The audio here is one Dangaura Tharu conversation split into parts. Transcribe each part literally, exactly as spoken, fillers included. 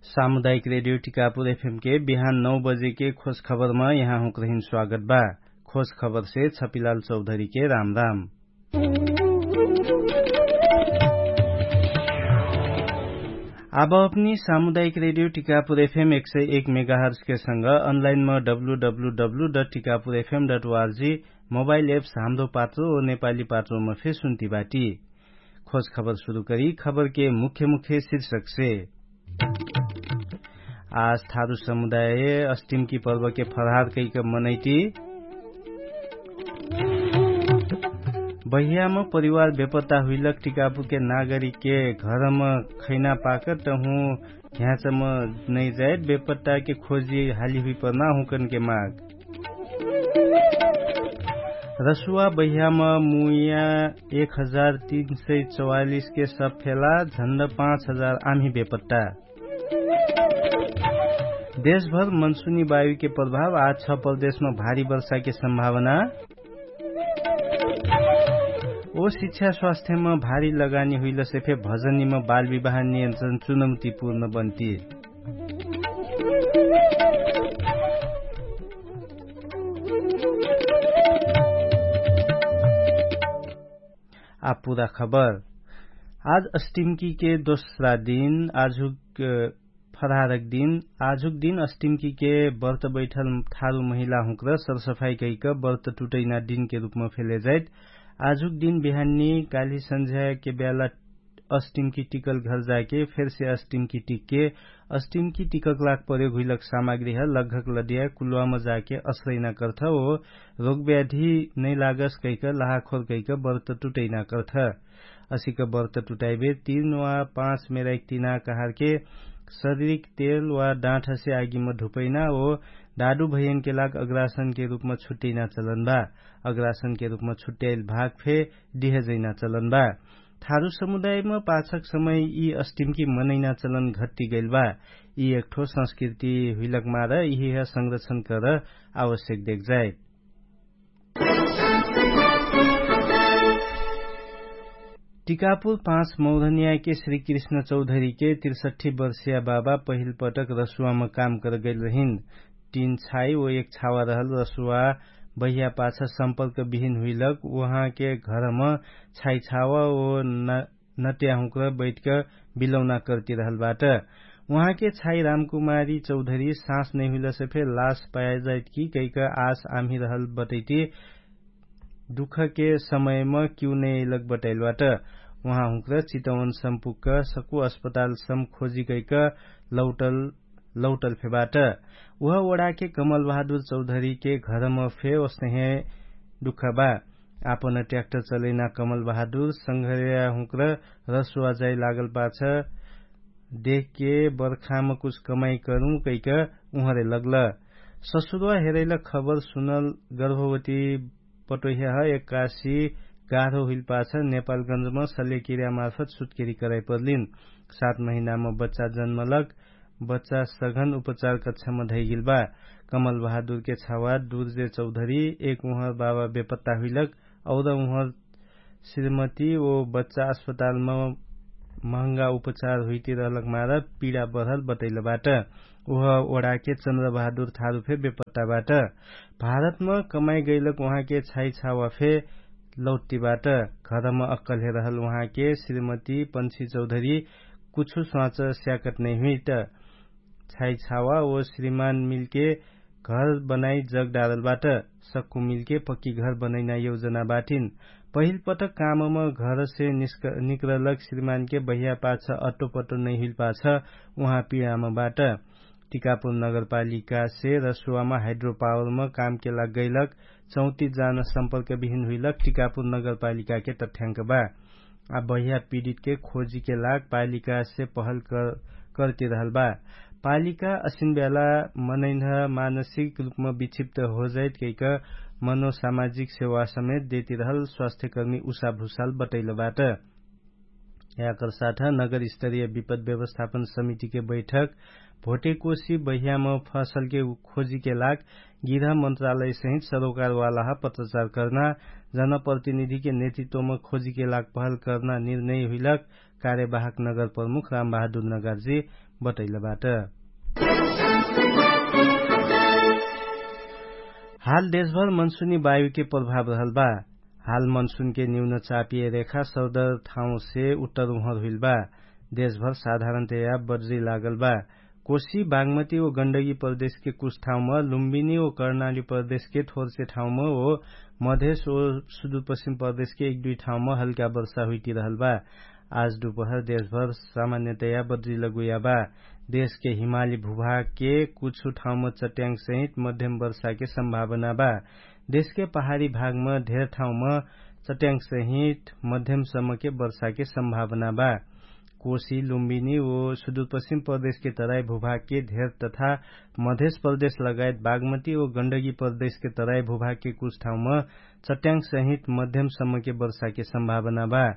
सामुदायिक रेडियो टिकापुर एफएम के बिहान नौ बजे के खोज खबरमा यहाँहुँक रहिन स्वागत बा। खोज खबर से छपिलाल चौधरी के राम राम। आब अपनी सामुदायिक रेडियो टिकापुर एफएम एक सय एक मेगाहर्स के संग अनलाइन म W W W dot Tikapur FM dot ORG mobile apps Hamro Patro ओ नेपाली पात्रोमा फे सुन्ती बाटी। खोज खबर सुरु करी खबर के मुख्य मुख्य शीर्षक से। आज थारु समुदाय अस्टिमकी पर्वके फरहार कैक मनैटी। बहियाम परिवार बेपत्ता हुइलक टिकापुके नागरिकके घरम खैना पाकत हुँ ह्याचम नैजाइत बेपत्ताके खोजी हाली हुइपर्ना हुँकनके माग। रसुवा बहियाम मुइया एक हजार तीन सय चौवालिसके सब फेला झन्ड पाँच हजार आम्ही बेपत्ता। देशभर मनसुनी वायुके प्रभाव आज छ प्रदेशमा भारी वर्षाके सम्भावना। ओ शिक्षा स्वास्थ्यमा भारी लगानी हुइलसे फे भजनीमा बाल विवाह नियन्त्रण चुनौतीपूर्ण बन्ती। आ पुरा खबर। आज अस्टिमकीके दोस्रा दिन आजुक फरहारक दिन। आजुक दिन अस्टिमकीके बर्त बैठल थारु महिला हुँक्र सरसफाई कैक बर्त टुटैना दिनके रुपमा फेले जाइत। आजुक दिन बिहान्नी काल्हि सन्झ्याके ब्याला अस्टिमकी टिकल घर जाके फेरसे अस्टिमकी टिकके अस्टिमकी टिकक लाग प्रयोग हुइलक सामग्रीह लग्घक लदिया कुल्वाम जाके असरैना कर्थ ओ रोगव्याधी नैलागस कैक लाहाखोर कैक बर्त टुटैना कर्थ। असिक बर्त टुटाइबे तीन वा पाँच मेराइक तिना कहारके शरीरिक तेल वा डाँठसे आगिम ढुपैना ओ डाडु भैयनके लाग अग्रासनके रुपमा छुट्टैना चलन बा। अग्रासनके रुपमा छुट्टैल भाग फे डिहजैना चलन बा। थारु समुदायमा पाछक समय यि अस्टिमकी मनैना चलन घट्टी गैल बा। यि एकठो संस्कृति हुइलक मार यिहिह संरक्षण कर आवश्यक देख जाइत। टिकापुर पाँच मौधनियाके श्री कृष्ण चौधरीके तिरसठ्ठी वर्षिया बाबा पहिल पटक रसुवामा काम करगैल रहिन। तीन छाई ओ एक छावा रहल रसुवा बहिया पाछ सम्पर्क बिहिन हुइलक उहाँके घरम छाई छावा ओ नट्याहुँक्र बैठक बिलौना कर्ति रहल बाट। उहाँके छाई रामकुमारी चौधरी साँस नैहुइलसे फे लास पाया जाइत कि कैक आस आम्ही रहल बटैटी दुखके समयम किउ नैलक बटैल बाट। उहाँहुँक्र चितवन सम्पुक्क सकु अस्पताल सम खोजी कैक लौटल लौटल फे बाट। उह ओडाके कमल बहादुर चौधरीके घरम फे ओसनहे दुख बा। आपन ट्याक्टर चलैना कमल बहादुर संघर्याहुँक्र रसुवा जाइ लागल पाछ देखके बर्खाम कुछ कमाई करुँ कैक उहरे लग्ल। ससुरुवा हेरैल खबर सुनल गर्भवती पटोह्याह एक्कासी गाह्रो हुइल पाछ नेपालगन्जम सल्यकिर्या मार्फत सुत्केरी कराइ पर्लिन। सात महिनाम बच्चा जन्मलक बच्चा सघन उपचार कक्षम धैगिल बा। कमल बहादुरके छावा दुर्जे चौधरी एक उहर बाबा बेपत्ता हुइलक और उहर श्रीमती ओ बच्चा अस्पतालम महँगा उपचार हुइती रहलक मार पिडा बढल बतैल बाट। उह ओडाके चन्द्र बहादुर थारु फे बेपत्ता बाट। भारतम कमाइ गैलक उहाँके छाइ छावा फे लौट्टी बाट। घरम अक्कल हे रहल उहाँके श्रीमती पन्छी चौधरी कुछु स्वाच स्याकत नैहुइट। छाइ छावा ओ श्रीमान मिलके घर बनाइ जग डारल बाट। सक्कु मिलके पक्की घर बनैना यौजना बाटिन। पहिल पटक कामम घरसे निक्रलक श्रीमानके बहिया पाछ अट्टो पट्टो नैहुइल पाछ उहाँ पिडाम बाट। टिकापुर नगरपालिकासे रसुवामा हाइड्रोपावरम कामके लाग गैलक चौतिस जान सम्पर्क बिहिन हुइलक टिकापुर नगरपालिकाके तठ्याङ्क बा। आ बहिया पिडितके खोजीके लाग पालिकासे पहल करति रहल बा। पालिका असिन ब्याला मनैन्ह मानसिक रुपम विक्षिप्त होजाइत कैक मनोसामाजिक सेवा समेत देति रहल स्वास्थ्यकर्मी उषा भुसाल बटैल बाट। याकर साथ नगर स्तरीय विपद व्यवस्थापन समितिके बैठक भोटेकोसी बहियाम फसलके खोजीके लाग गृह मन्त्रालयसहित सरोकारवालाह पत्रचार कर्ना जनप्रतिनिधिके नेतृत्वम खोजीके लाग पहल कर्ना निर्णय हुइलक कार्यवाहक नगर प्रमुख रामबहादुर नगरजी बटैलबाट। हाल देशभर मनसुनी वायुके प्रभाव रहल बा। हाल मनसुनके न्यून चापिय रेखा सर्दर ठाउँसे उत्तर उहर हुइल बा। देशभर साधारणतया बज्री लागल बा। कोशी बागमती ओ गण्डगी प्रदेशके कुछ ठाउँम लुम्बिनी ओ कर्णाली प्रदेशके थोरसे ठाउँम ओ मधेश ओ सुदुरपश्चिम प्रदेशके एक दुई ठाउँम हल्का वर्षा हुइटिरहल बा। आज दुपहर देशभर सामान्यतया बज्री लगुया बा। देशके हिमाली भुभागके कुछु ठाउँम चट्याङ्गसहित मध्यम वर्षाके सम्भावना बा। देशके पहाडी भागम धेर ठाउँम चट्याङ्गसहित मध्यमसम्मके वर्षाके सम्भावना बा। कोशी लुम्बिनी ओ सुदुरपश्चिम प्रदेशके तराई भुभागके धेर तथा मधेश प्रदेश लगायत बागमती ओ गण्डगी प्रदेशके तराई भुभागके कुछ ठाउँम चट्याङ्गसहित मध्यमसम्मके वर्षाके सम्भावना बा।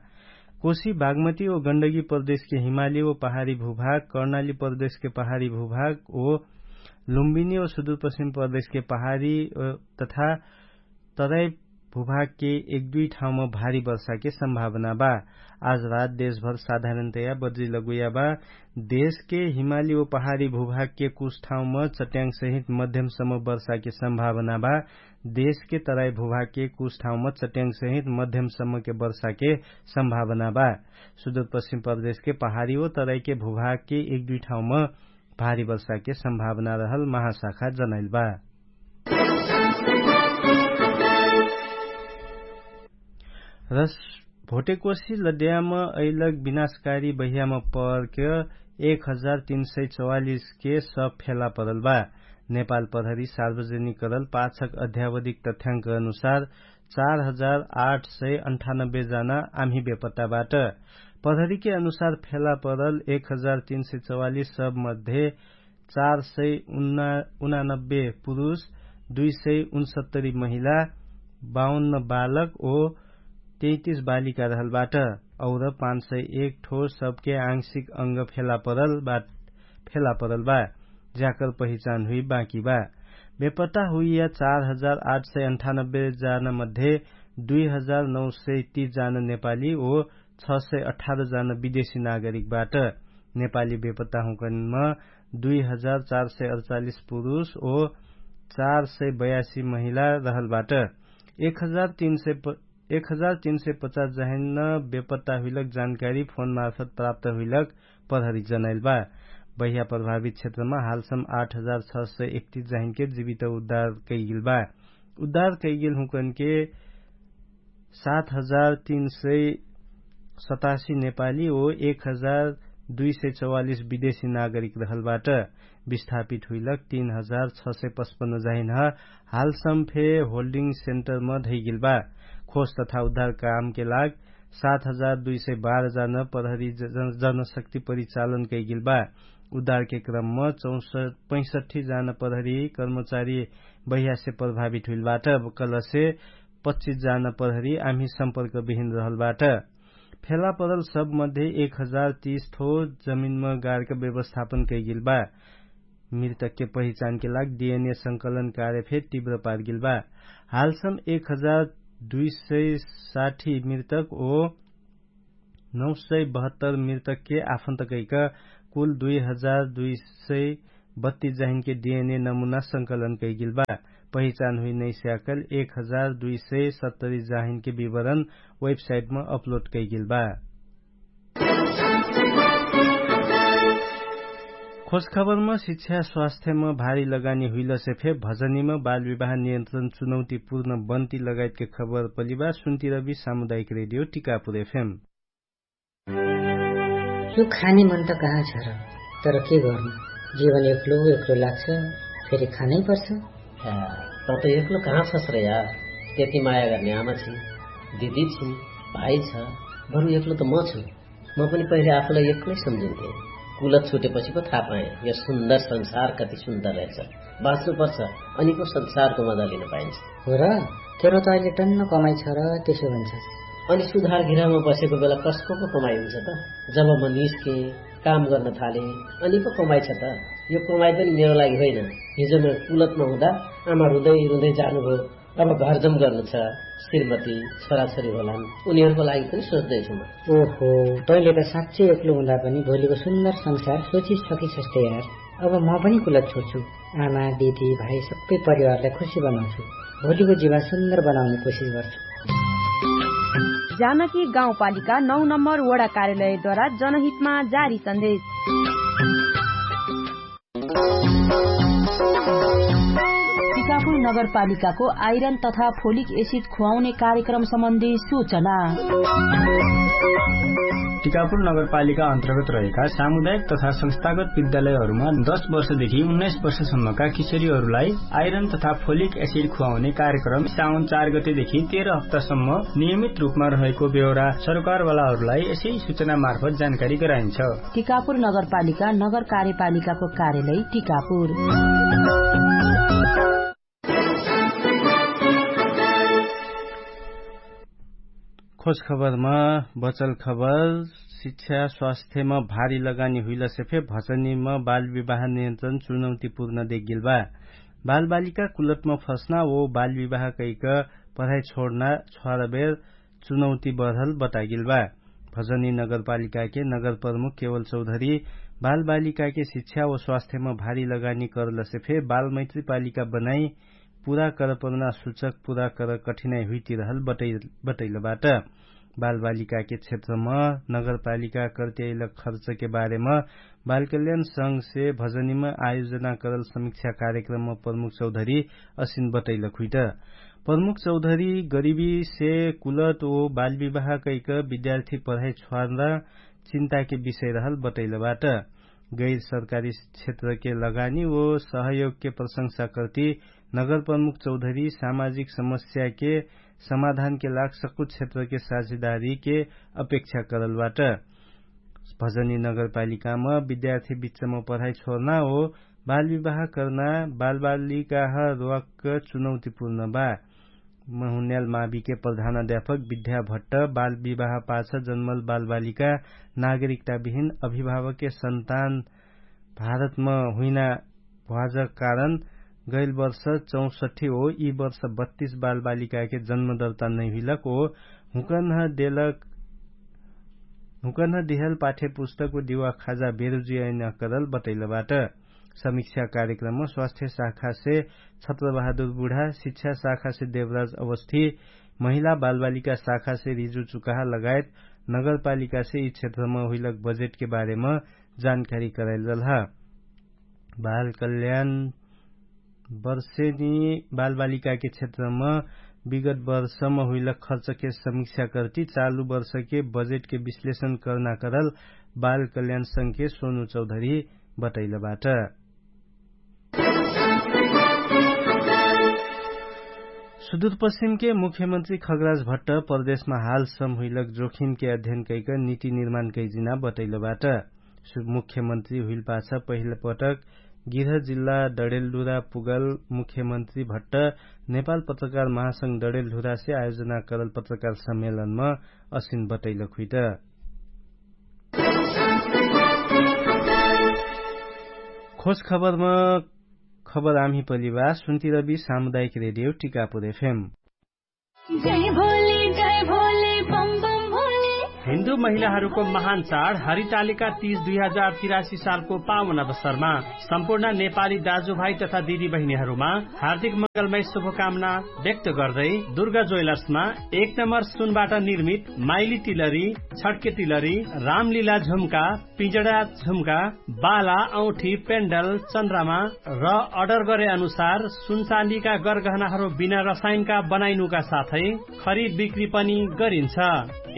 कोशी बागमती ओ गण्डगी प्रदेशके हिमाली ओ पहाडी भुभाग कर्णाली प्रदेशके पहाडी भुभाग ओ लुम्बिनी ओ सुदुरपश्चिम प्रदेशके पहाडी तथा तराई भुभागके एक दुई ठाउँम भारी वर्षाके सम्भावना बा। आज रात देशभर साधारणतया बज्री लगुया बा। देशके हिमाली ओ पहाडी भुभागके कुछ ठाउँम चट्याङ्गसहित मध्यमसम्म वर्षाके सम्भावना बा। देशके तराई भुभागके कुछ ठाउँम चट्याङ्गसहित मध्यमसम्मके वर्षाके सम्भावना बा। सुदुरपश्चिम प्रदेशके पहाडी ओ तराईके भुभागके एक दुई ठाउँम भारी वर्षाके सम्भावना रहल महाशाखा जनाइल बा। र भोटेकोशी लड्याम अइलक विनाशकारी बहियाम पर्क एक हजार तीन सय चौवालिसके सब फेला परल बा। नेपाल प्रहरी सार्वजनिक करल पाछक अध्यावधिक तथ्याङ्क अनुसार चार हजार आठ सय अन्ठानब्बे जना आम्ही बेपत्ताबाट। प्रहरीके अनुसार फेला परल एक हजार तीन सय चौवालिस सब मध्ये चार सय उनानब्बे पुरुष, दुई सय उनसत्तरी महिला, बाउन्न बालक ओ तैतिस बालिका रहलबाट। और पाँच सय एक ठो सबके आंशिक अंग फेला परल बा। ज्याकर पहिचान हुइ बाँकी बा। बेपत्ता हुइया चार हजार आठ सय अन्ठानब्बे जान मध्ये दुई हजार नौ सय तीस जान नेपाली ओ छ सय अठार जान विदेशी नागरिकबाट। नेपाली बेपत्ता हुँकनमा दुई हजार चार सय अडचालिस पुरुष ओ चार सय बयासी महिला रहलबाट। एक हजार तीन सय पचास जाहिन बेपत्ता हुइलक जानकारी फोन मार्फत प्राप्त हुइलक प्रहरी जनाइल बा। बहिया प्रभावित क्षेत्रमा हालसम आठ हजार छ सय एकतिस जाहिनके जिवित उद्धार कैगेल बा। उद्धार कैगेल हुँकनके सात हजार तीन सय सतासी नेपाली ओ एक हजार दुई सय चौवालिस विदेशी नागरिक रहलबाट। विस्थापित हुइलक तीन हजार छ सय पचपन्न जाहिन ह। हालसम फे होल्डिङ सेन्टरमा धैगेल बा। खोज तथा उद्धार कामके लाग सात हजार दुई सय बाह्र जान प्रहरी जनशक्ति परिचालन कैगेल बा। उद्धारके क्रममा पैसठी जान प्रहरी कर्मचारी बहियासे प्रभावित हुइलबाट। कलसे पच्चिस जान प्रहरी आम्ही सम्पर्क बिहिन रहलबाट। फेला परल सबमध्ये एक हजार तीस थो जमिनमा गार्क व्यवस्थापन कैगेल बा। मृतकके पहिचानके लाग डिएनए संकलन कार्य फे तिव्र पारगेल बा। हालसम एक हजार दुई सय साठी मृतक ओ नौ सय बहत्तर मृतकके आफन्त कैक कुल दुई हजार दुई सय बत्तिस जाहिनके डिएनए नमुना संकलन कैगेल बा। पहिचान हुइ नैस्याकल एक हजार दुई सय सत्तरी जाहिनके विवरण वेबसाइटमा अपलोड कैगेल बा। खोजखबरमा शिक्षा स्वास्थ्यमा भारी लगानी हुइलसे फे भजनीमा बालविवाह नियन्त्रण चुनौतीपूर्ण बन्ती लगायतके खबर पलिबा सुन्तिरबी सामुदायिक रेडियो टिकापुर एफएम। यो खाने मन त कहाँ छ र? तर के गर्नु, जीवन एक्लो एक्लो लाग्छ। फेरि खानै पर्छ। त त एक्लो कहाँ छस् र यार? त्यति माया गर्ने आमा छिन्, दिदी छिन्, भाइ छ। बरु एक्लो त म छु। म पनि पहिले आफूलाई एक्लै सम्झिन्थे। कुलत छुटेपछि पो थाहा पाएँ यो सुन्दर संसार कति सुन्दर रहेछ। बाँच्नुपर्छ, अनि पो संसारको मजा लिन पाइन्छ। हो र? तेरो त अहिले टन्न कमाइ छ र त्यसो भन्छस्। अनि सुधार गृहमा बसेको बेला कसको पो कमाइ हुन्छ त? जब म निस्के, काम गर्न थाले, अनि पो कमाइ छ त? यो कमाइ पनि मेरो लागि होइन। हिजो म कुलतमा हुँदा आमा रुँदै रुँदै जानुभयो। अब घरजम गर्नु छ। श्रीमती, छोराछोरी होलान्, उनीहरूको लागि पनि सोच्दैछु म। ओहो, तैँले त साँच्चै एक्लो हुँदा पनि भोलिको सुन्दर संसार सोचिसकिसक्छौ यार। अब म पनि कुलत छोड्छु। आमा, दिदी, भाइ, सबै परिवारलाई खुसी बनाउँछु। भोलिको जीवन सुन्दर बनाउने कोसिस गर्छु। जानकी गाउँपालिका नौ नम्बर वडा कार्यालयद्वारा जनहितमा जारी सन्देश। टिकापुर नगरपालिकाको आइरन तथा फोलिक एसिड खुवाउने कार्यक्रम सम्बन्धी सूचना। टिकापुर नगरपालिका अन्तर्गत रहेका सामुदायिक तथा संस्थागत विद्यालयहरूमा दस वर्षदेखि उन्नाइस वर्षसम्मका किशोरीहरूलाई आइरन तथा फोलिक एसिड खुवाउने कार्यक्रम साउन चार गतेदेखि तेह्र हप्तासम्म नियमित रूपमा रहेको बेहोरा सरकारवालाहरूलाई यसै सूचना मार्फत जानकारी गराइन्छ। टिकापुर नगरपालिका नगर कार्यपालिकाको कार्यालय टिकापुर। खोज खबरमा बचल खबर। शिक्षा स्वास्थ्यमा भारी लगानी हुइलसे फे भजनीमा बाल विवाह नियन्त्रण चुनौतीपूर्ण देखगेल बा। बालबालिका कुलतमा फस्ना ओ बाल विवाह कैक पढाइ छोड्ना छ्वारबेर चुनौती बढल बतागेल बा। भजनी नगरपालिकाके नगरप्रमुख केवल चौधरी बालबालिकाके शिक्षा ओ स्वास्थ्यमा भारी लगानी करलसे फे बालमैत्री पालिका बनाई पुरा करपना सुचक पुरा कर कठिनाइ हुइतिरहल बटैलबाट। बालबालिकाके क्षेत्रम नगरपालिका कर्त्याइल खर्चके बारेमा बालकल्याण संघसे भजनीमा आयोजना करल समिक्षा कार्यक्रममा प्रमुख चौधरी असिन बटैलक हुइट। प्रमुख चौधरी गरिबीसे कुलत ओ बालविवाह कैक विद्यार्थी पढाइ छ्वार्ना चिन्ताके विषय रहल बटैलबाट। गैर सरकारी क्षेत्रके लगानी ओ सहयोगके प्रशंसा कर्ति नगरप्रमुख चौधरी सामाजिक समस्याके समाधानके लाग सक्कु क्षेत्रके साझेदारीके अपेक्षा करलबाट। भजनी नगरपालिकामा विद्यार्थी बिच्चमा पढाइ छोर्ना ओ बालविवाह कर्ना बालबालिकाह रोवाक चुनौतीपूर्ण बा। महुन्याल माविके प्रधान अध्यापक विद्या भट्ट बालविवाह पाछ जन्मल बालबालिका नागरिकता बिहिन अभिभावके सन्तान भारतमा हुइना भ्वाजक कारण गैल वर्ष चौसट्ठी ओ यि वर्ष बत्तीस बालबालिकाके जन्मदर्ता नैहुइलक ओ हुकन्ह देलक हुकन्ह दिहल पाठ्यपुस्तक ओ दिवा खाजा बेरुजियाइन करल बटैलबाट। समिक्षा कार्यक्रममा स्वास्थ्य शाखासे छत्रबहादुर बुढा शिक्षा शाखासे देवराज अवस्थी महिला बालबालिका शाखासे रिजु चुकाहा लगायत नगरपालिकासे यि क्षेत्रमा हुइलक बजेटके बारेमा जानकारी कराइल रहलहा। बाल कल्याण वर्षेनी बालबालिकाके क्षेत्रमा विगत वर्षमा हुइलक खर्चके समिक्षा कर्ति चालु वर्षके बजेटके विश्लेषण कर्ना करल बाल कल्याण संघके सोनु चौधरी बटैलबाट। सुदूरपश्चिमके मुख्यमन्त्री खगराज भट्ट प्रदेशमा हाल सम्हुइलक जोखिमके अध्ययन कैक निति निर्माण कैजिना बटैलबाट। मुख्यमन्त्री हुइलपाछ पहिलपटक गिरह जिल्ला डडेलडुरा पुगल मुख्यमन्त्री भट्ट नेपाल पत्रकार महासंघ डडेलडुरासे आयोजना करल पत्रकार सम्मेलनमा असिन बटैलक हुइट। खोज खबरमा खबर आम्ही पलिवा सुन्तिरबी सामुदायिक रेडियो टिकापुर एफएम। हिन्दू महिलाहरूको महान चाड हरितालिका तीज दुई हजार तिरासी सालको पावन अवसरमा सम्पूर्ण नेपाली दाजुभाइ तथा दिदीबहिनीहरूमा हार्दिक मङ्गलमय शुभकामना व्यक्त गर्दै दुर्गा ज्वेलर्समा एक नम्बर सुनबाट निर्मित माइली तिलरी, छड्के तिलरी, रामलीला झुम्का, पिजडा झुम्का, बाला औठी पेन्डल चन्द्रमा र अर्डर गरे अनुसार सुनचाँदीका गरगहनाहरू बिना रसायनका बनाइनुका साथै खरिद बिक्री पनि गरिन्छ।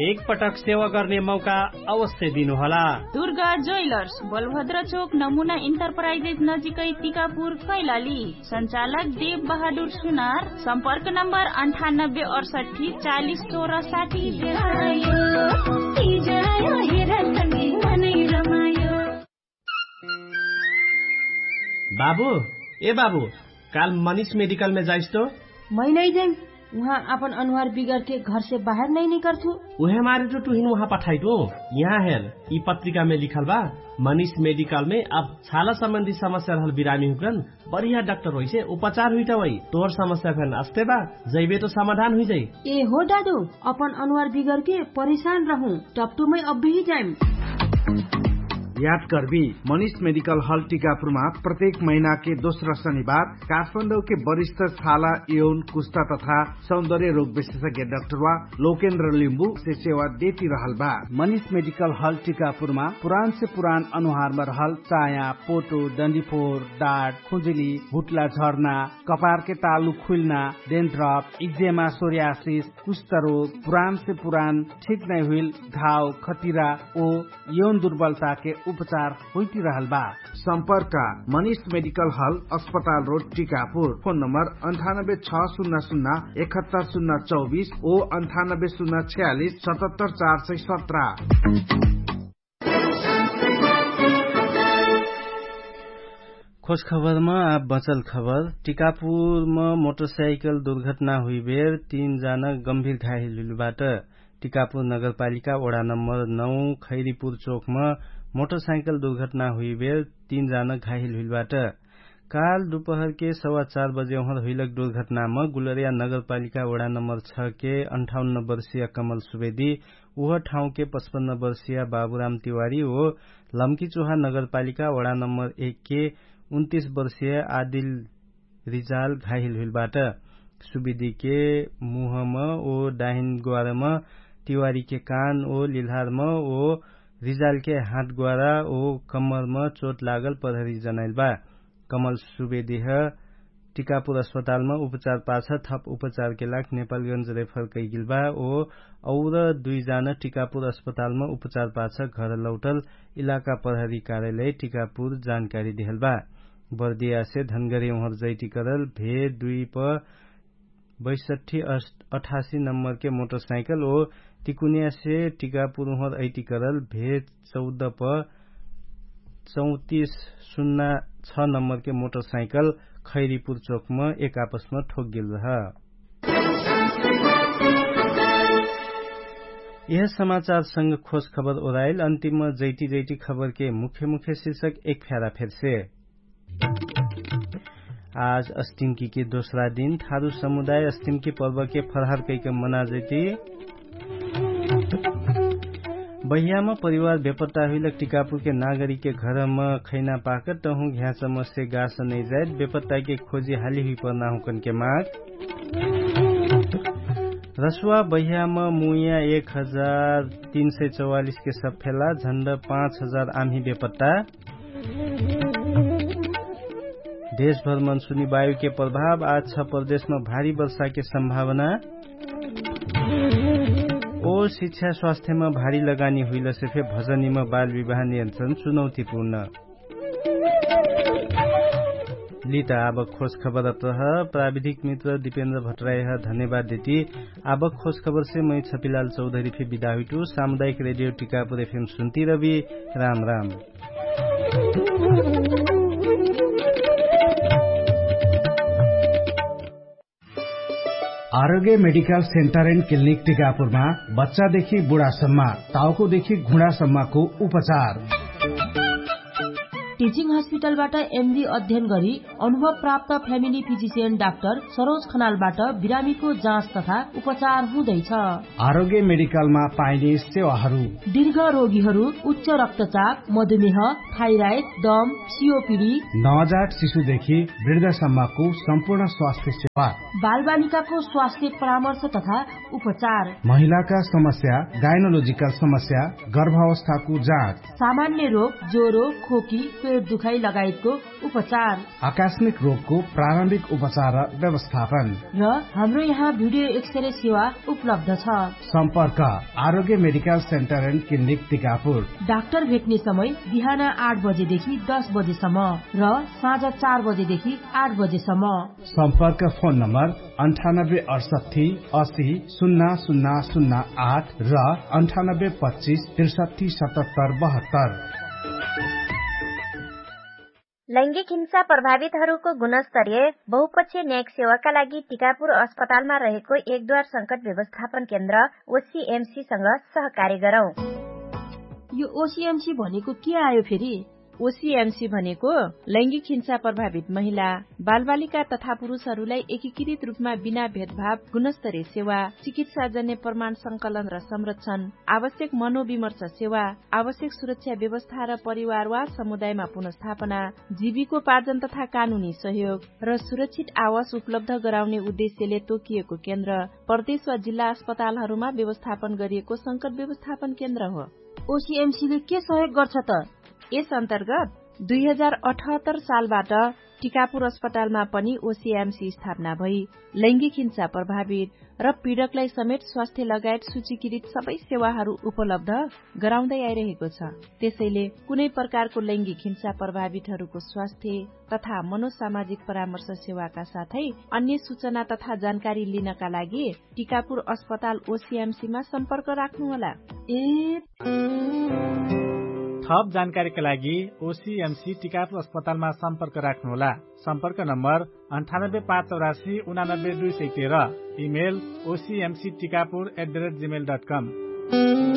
एकपटक सेवा गर्ने मौका अवश्य दिनुहोला। दुर्गा ज्वेलर्स, बलभद्र चोक, नमुना इन्टरप्राइजेस नजिकै टिकापुर, कैलाली। सञ्चालक देव बहादुर सुनार। सम्पर्क नम्बर अन्ठानब्बे अडसट्ठी चालिस चौरा साठी। बाबु, ए बाबु, काल मनिष मेडिकलमे जाइस्तो? महिनै जेम। उहाँ आपन अनुहार बिगरके घरसे बाहेर नै निकरथु। उहे मारे टु टुहिन उहाँ पठाइटु। यहाँ हेर, यि पत्रिकामे लिखल बा, मनिष मेडिकलमे अब छाला सम्बन्धी समस्या रहल बिरामी हुकरन बढिया डाक्टर होइसे उपचार हुइटा वै। तोहर समस्या फेन अस्ते बा, जैबे तो समाधान हुइजाइ। ए हो दादु, अपन अनुहार बिगरके परिशान रहु, टपटुमै अब्बेही जाइम। याद कर्बी, मनिष मेडिकल हल टिकापुरमा प्रत्येक महिनाके दोस्रा शनिबार काठमाडौके बरिष्ठ छाला, यौन, कुस्ता तथा सौन्दर्य रोग विशेषज्ञ डाक्टरवा लोकेन्द्र लिम्बुसे सेवा देति रहल बा। मनिष मेडिकल हल टिकापुरमा पुरानसे पुरान अनुहारमा रहल चाया, पोटो, डन्डीफोर, डाट, खुजुली, हुट्ला झर्ना, कपारके तालु खुइल्ना, डेन्ड्रप, इक्जेमा, सोर्यासिस, कुष्ठरोग, पुरानसे पुरान ठिक नै हुइल घाव, खतिरा ओ यौन दुर्बलताके उपचार होइति रहल बा। सम्पर्क, मनिष मेडिकल हल, अस्पताल रोड, टिकापुर। फोन नम्बर अन्ठानब्बे छ सुन्ना सुन्ना एकहत्तर सुन्ना चौबिस ओ अन्ठानब्बे सुन्ना छयालिस सतहत्तर चार सय सत्र। खोज खबरमा आब बचल खबर। टिकापुरमा मोटरसाइकल दुर्घटना हुइबेर तीन जाना गम्भीर घाहिल हुइलबाट। टिकापुर नगरपालिका वडा नम्बर नौ खैरीपुर चोकमा मोटरसाइकल दुर्घटना हुइबेर तीन जाना घाहिल हुइलबाट। काल दुपहरके सवा चार बजे उहर हुइलक दुर्घटनामा गुलरिया नगरपालिका वडा नम्बर छ के अन्ठाउन्न वर्षीय कमल सुवेदी, उह ठाउँके पचपन्न वर्षीय बाबुराम तिवारी ओ लम्कीचोहा नगरपालिका वडा नम्बर एक के उन्तिस वर्षीय आदिल रिजाल घाहिल हुइलबाट। सुवेदीके मुहम ओ डाहिन ग्वारम, तिवारीके कान ओ लिल्हारम ओ रिजालके हात ग्वारा ओ कम्मरम चोट लागल प्रहरी जनाइल बा। कमल सुवेदीह टिकापुर अस्पतालमा उपचार पाछ थप उपचारके लाग नेपालगन्ज रेफर कैगिल बा ओ और दुइ जाना टिकापुर अस्पतालमा उपचार पाछ घर लौटल इलाका प्रहरी कार्यालय टिकापुर जानकारी देहल बा। बर्दियासे धनगरी उहर जैटिकरल भे दुइ प बैसठी अठासी नम्बरके मोटरसाइकल ओ तिकुनियासे टिकापुर उहर ऐटिकरल भे चौध प चौतिस सुन्ना छ नम्बरके मोटरसाइकल खैरीपुर चोकमा एक आपसमा ठोकगेल रह। यह समाचारसँग खोज खबर ओराइल अन्तिममा जैटी जैटी खबरके मुख्य मुख्य शीर्षक एक फ्यारा फेरसे। आज अस्टिमकीके दोस्रा दिन थारु समुदाय अस्टिमकी पर्वके फरहार कैक मनाजैती। बहियामा परिवार बेपत्ता हुइलक टिकापुरके नागरिकके घरम खैना पाकत तहुँ घ्याँचमसे गास नैजाइत बेपत्ताके खोजी हाली हुइपर्ना हुँकनके माग। रसुवा बहियामा मुइया एक हजार तीन सय चौवालिसके सफेला झण्ड पाँच हजार आम्ही बेपत्ता। देशभर मनसुनी वायुके प्रभाव आज छ प्रदेशमा भारी वर्षाके सम्भावना। ओ शिक्षा स्वास्थ्यमा भारी लगानी हुइलसे फे भजनीमा बाल विवाह नियन्त्रण चुनौतीपूर्ण। लित आब खोज खबर अत्रह प्राविधिक मित्र दिपेन्द्र भट्टरायह धन्यवाद देती। आब खोज खबरसे मै छपिलाल चौधरी फे बिदा हुइटु सामुदायिक रेडियो टिकापुर एफएम सुन्ती रबी। राम राम। आरोग्य मेडिकल सेन्टर एन्ड क्लिनिक टिकापुरमा बच्चादेखि बुढासम्म टाउकोदेखि घुँडासम्मको उपचार। टिचिङ हस्पिटलबाट एमडी अध्ययन गरी अनुभव प्राप्त फ्यामिली फिजिसियन डाक्टर सरोज खनालबाट बिरामीको जाँच तथा उपचार हुँदैछ। आरोग्य मेडिकलमा पाइने सेवाहरू। दीर्घ रोगीहरू उच्च रक्तचाप, मधुमेह, थाइराइड, दम, सिओपिडी, नवजात शिशुदेखि वृद्धसम्मको सम्पूर्ण स्वास्थ्य सेवा। बालबालिकाको स्वास्थ्य परामर्श तथा उपचार। महिलाका समस्या, गाइनोलोजिकल समस्या, गर्भावस्थाको जाँच। सामान्य रोग, ज्वरो, खोकी, पेट दुखाइ लगायतको उपचार। आकस्मिक रोगको प्रारम्भिक उपचार र व्यवस्थापन। र हाम्रो यहाँ भिडियो एक्सरे सेवा उपलब्ध छ। सम्पर्क Arogya medical centre and clinic Tikapur. Doctor भेट्ने समय बिहान आठ बजेदेखि दस बजेसम्म र साँझ चार बजेदेखि आठ बजेसम्म। सम्पर्क फोन नम्बर अन्ठानब्बे अडसट्ठी असी सुन्ना सुन्ना सुन्ना आठ र अन्ठानब्बे पच्चिस त्रिसट्ठी सतहत्तर बहत्तर। लैङ्गिक हिंसा प्रभावितहरूको गुणस्तरीय बहुपक्षीय न्यायिक सेवाका लागि टिकापुर अस्पतालमा रहेको एकदुवार संकट व्यवस्थापन केन्द्र ओसिएमसीसँग सहकार्य गरौँ। यो ओसिएमसी भनेको के आयो फेरि? ओसिएमसी भनेको लैङ्गिक हिंसा प्रभावित महिला, बालबालिका तथा पुरुषहरूलाई एकीकृत रूपमा बिना भेदभाव गुणस्तरीय सेवा, चिकित्साजन्य प्रमाण संकलन र संरक्षण, आवश्यक मनोविमर्श सेवा, आवश्यक सुरक्षा व्यवस्था र परिवार वा समुदायमा पुनर्स्थापना, जीविकोपार्जन तथा कानुनी सहयोग र सुरक्षित आवास उपलब्ध गराउने उद्देश्यले तोकिएको केन्द्र प्रदेश वा जिल्ला अस्पतालहरूमा व्यवस्थापन गरिएको संकट व्यवस्थापन केन्द्र हो। ओसिएमसीले के सहयोग गर्छ त? यस अन्तर्गत दुई हजार अठहत्तर सालबाट टिकापुर अस्पतालमा पनि ओसिएमसी स्थापना भई लैङ्गिक हिंसा प्रभावित र पीडकलाई समेत स्वास्थ्य लगायत सूचीकृत सबै सेवाहरू उपलब्ध गराउँदै आइरहेको छ। त्यसैले कुनै प्रकारको लैङ्गिक हिंसा प्रभावितहरूको स्वास्थ्य तथा मनोसामाजिक परामर्श सेवाका साथै अन्य सूचना तथा जानकारी लिनका लागि टिकापुर अस्पताल ओसिएमसीमा सम्पर्क राख्नुहोला। ए थप जानकारीका लागि ओसिएमसी टिकापुर अस्पतालमा सम्पर्क राख्नुहोला। सम्पर्क नम्बर अन्ठानब्बे पाँच चौरासी उनानब्बे दुई सय तेह्र। Email OCMC Tikapur at the rate Gmail dot come.